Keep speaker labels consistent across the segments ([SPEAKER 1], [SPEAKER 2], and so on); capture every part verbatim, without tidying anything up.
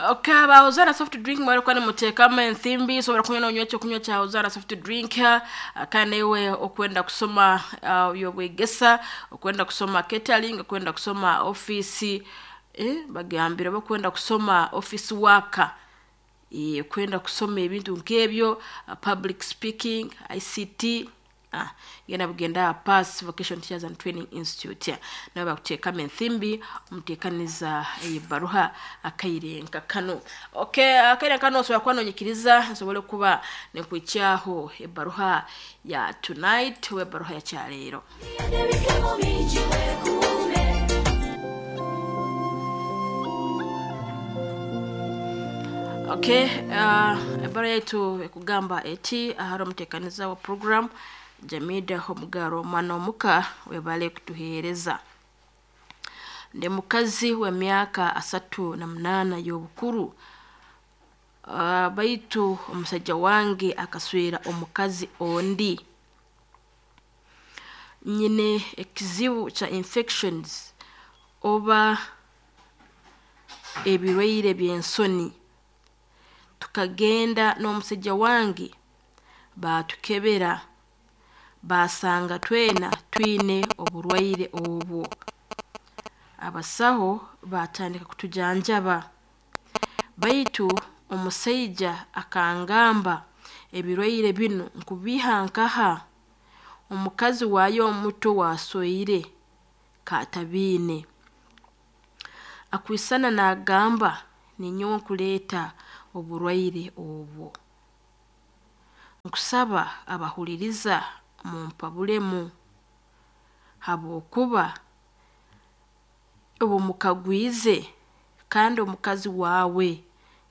[SPEAKER 1] Okay, ba Hozana soft drink mwari kwani mutekama enthimbi sobora kunywa nonywa ekyo kunywa kya Hozana soft drink. Kandi iwe okwenda kusoma uh, yobwegesa, okwenda kusoma catering, okwenda kusoma office, eh bagambire bakwenda kusoma office worker, eh kwenda kusoma ebintu nkebyo, uh, public speaking, I C T. Ah, genda bugenda Pass Vocation Teachers and Training Institute nabo bakuteekamo enthimbi omuteekaniza ebaruha akairenka kano. Okay, akairenka kano osobola kuba nonyikiriza nsobole kuba nekwikyaho ebaruha ya tonight we ebaruha ya kyaleero. Okay, uh, ebaruha yaitu ekugamba eti ahari omuteekaniza wa program Jamida Omugaro mwana omuka webale kutuhereza. Ndi mukazi wa myaka asatu na munana y'obukuru. Uh, baitu omusajja wange akaswera omukazi ondi. Nyine ekizibu cha infections oba ebirwaire by'ensoni. Tukagenda n'omusajja wange batukebera, basanga twena twine oburwaire obwo. Abasaho batandika kutujanjaba, baitu omusajja akangamba ebirwaire bino nkubiha nkaha omukazi wayo omuto wasoire katabine. Akwisana nagamba ninyowe nkuleeta oburwaire obwo. Nkusaba abahuliriza mumpabulemu habwokuba obumukagwize kandi omukazi wawe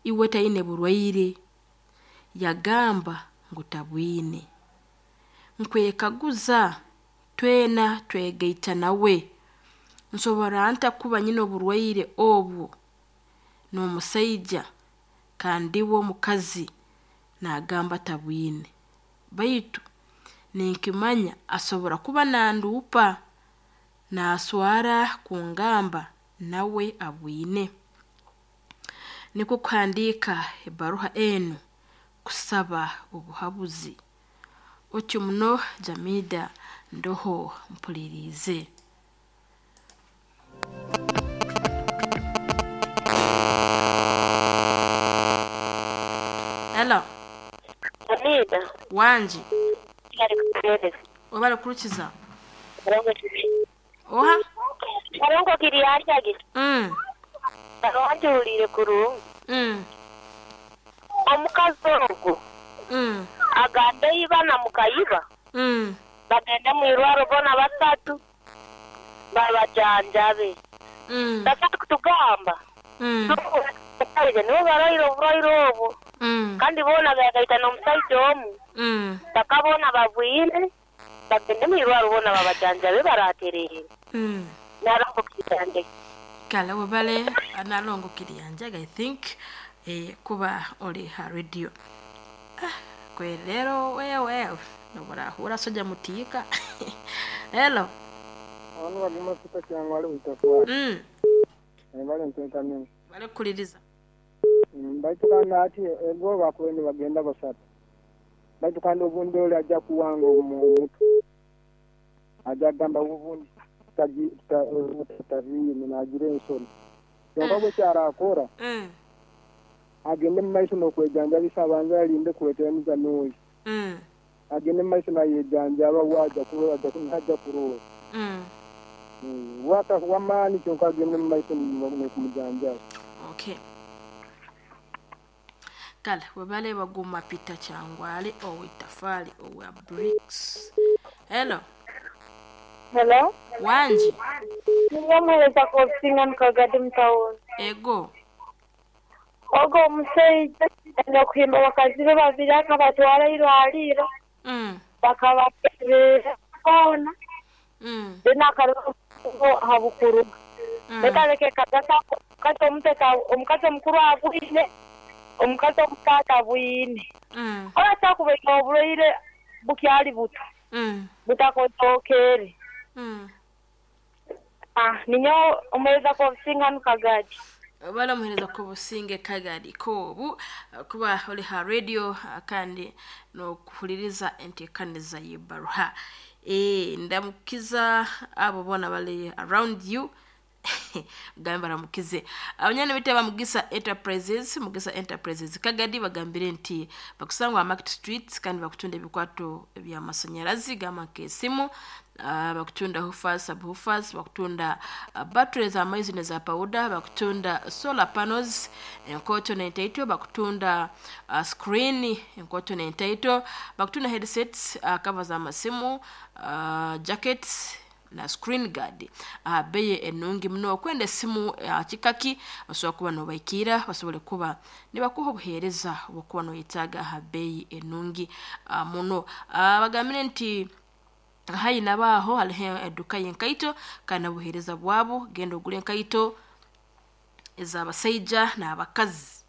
[SPEAKER 1] iwe taine burwaire, yagamba ngu tabwine. Nkwekaguza twena twegaita nawe, nsobora nta kuba nyine oburwaire obwo n'omusaija kandi we omukazi nagamba tabwine, baitu ninkimanya asobora kuba nanduupa naswara kungamba nawe abwine. Nikwo kuhandiika ebaruha enu kusaba obuhabuzi. Otyo muno Jamida ndoho mpulirize. Hello.
[SPEAKER 2] Jamida.
[SPEAKER 1] Wanji. Wabale kurukiza. Oha?
[SPEAKER 2] Barongo kiriyanjage.
[SPEAKER 1] Mm.
[SPEAKER 2] Barongo kurungi.
[SPEAKER 1] Mm.
[SPEAKER 2] Omukazi ogwo.
[SPEAKER 1] Mm.
[SPEAKER 2] Agambe iba na mukayiba.
[SPEAKER 1] Mm.
[SPEAKER 2] Bagende mwirwaro bona basatu. Babajanjabe.
[SPEAKER 1] Mm.
[SPEAKER 2] Basatu kutugamba.
[SPEAKER 1] Mm.
[SPEAKER 2] Nibo barwaire oburwaire obwo.
[SPEAKER 1] Mm.
[SPEAKER 2] Kandi bona bagaita n'omusaija omu.
[SPEAKER 1] Mm.
[SPEAKER 2] Bakabona babwine. Bagende mwirwaro bona babajanjabe baraterere.
[SPEAKER 1] Mm.
[SPEAKER 2] Narongo kiriyanje.
[SPEAKER 1] Kale wabale nalongo kiriyanje I think eh kuba oli ha radio. Ah, kwe lero wewe nobora hura soja mutika. Hello.
[SPEAKER 3] Abantu baguma kita cyangwa ari utafwa.
[SPEAKER 1] Mm.
[SPEAKER 3] Bale nteka mimi.
[SPEAKER 1] Bale kuliriza.
[SPEAKER 3] Baitu kandi ati ego bakwende bagenda basatu. Baitu kandi obundi oli ajja kuwanga omuntu. Ajja gamba obundi taji tavi nagira ensoni. Kyonka bwe kyarakora.
[SPEAKER 1] Mm.
[SPEAKER 3] Agende mu maiso n'okwejanjabisa abanza alinde kuleetera n'oyo.
[SPEAKER 1] Mm.
[SPEAKER 3] Agende mu maiso nayejanjaba waja kurola ajja kunajja kurola.
[SPEAKER 1] Mm.
[SPEAKER 3] Mm. Wata wamaani kyonka agende mu maiso n'okumujanjaba.
[SPEAKER 1] Okay. Kale webale baguma Peter Changwale owitafali owa bricks. Hello.
[SPEAKER 2] Hello.
[SPEAKER 1] Wanji.
[SPEAKER 2] Nimuhereza kosinga mukagadi mutawuni.
[SPEAKER 1] Ego.
[SPEAKER 2] Ogo omusajja okuhimba bakazi be babiri akabatwara irwaliro.
[SPEAKER 1] Mm.
[SPEAKER 2] Bakabakebera boona.
[SPEAKER 1] Mm.
[SPEAKER 2] Then akaruga habukuru.
[SPEAKER 1] Mm.
[SPEAKER 2] Bekaleke kagasa omukazi omuteka omukazi omukuru abwine omukazi omutaata abwine.
[SPEAKER 1] Mm.
[SPEAKER 2] Oratakubaika oburwaire bukyali buto.
[SPEAKER 1] Mm.
[SPEAKER 2] Butakotokere.
[SPEAKER 1] Mm.
[SPEAKER 2] Ah, ninyo omuhereza kosinga mukagadi.
[SPEAKER 1] Baramuhereza ku Businge Kagari kobu kuba oli ha radio, ah, kandi nokuhuliriza entekaniza y'ebbaruha. Eh, ndamukiza abo bona bali around you, gambe baramukize abanyana bite ba Mugisa Enterprises. Mugisa Enterprises Kagadi bagambire nti bakusangwa Market Street, kandi bakutunda ebikwato by'amasanyarazi gamba nk'esimu, uh, bakutunda woofers, subwoofers, bakutunda uh, batteries amaizi neza powder, bakutunda solar panels enkoto n'entaito, bakutunda uh, screen enkoto n'entaito, bakutunda headsets, uh, cover z'amasimu, uh, jackets na screen guard uh, beye enungi muno. Okwenda esimu uh, kikaki basobora kuba nobaikira basobole kuba nibakuha obuheereza obwokuba noyetaaga aha beyi enungi uh, muno. uh, bagambire nti hayi nabaaho hariho eduka y'enkaito kandi n'obuheereza bwabo. Genda ogule enkaito ez'abasaija n'abakazi.